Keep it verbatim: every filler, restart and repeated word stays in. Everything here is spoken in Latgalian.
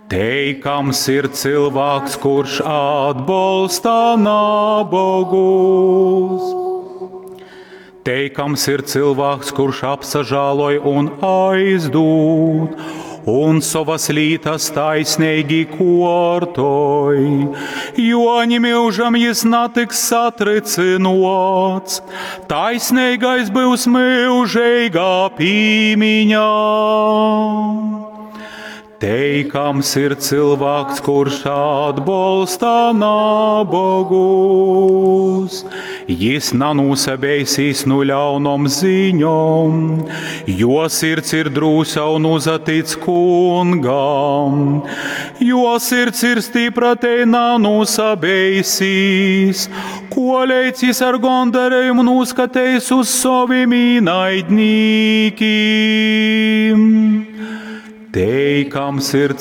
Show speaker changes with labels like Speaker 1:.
Speaker 1: Teikams ir cylvāks, kurš atbolsta nabogus. Teikams ir cylvāks, kurš apsažāloj un aizdūd, un sovas lītas taisneigi kuortoj, jo ni myužam jis natiks satrycynuots, taisneigais byus myužeigā pīmiņā. Teikams ir cylvāks, kurš atbolsta nabogus. Jis nanūsabeisīs nu ļaunom ziņom, jo sirds ir drūsa un uzatic kungam. Jo sirds ir stipra, tei nanūsabeisīs, koleidz jis ar gondarejumu nūskateis uz sovim īnaidnīkim. Teikams ir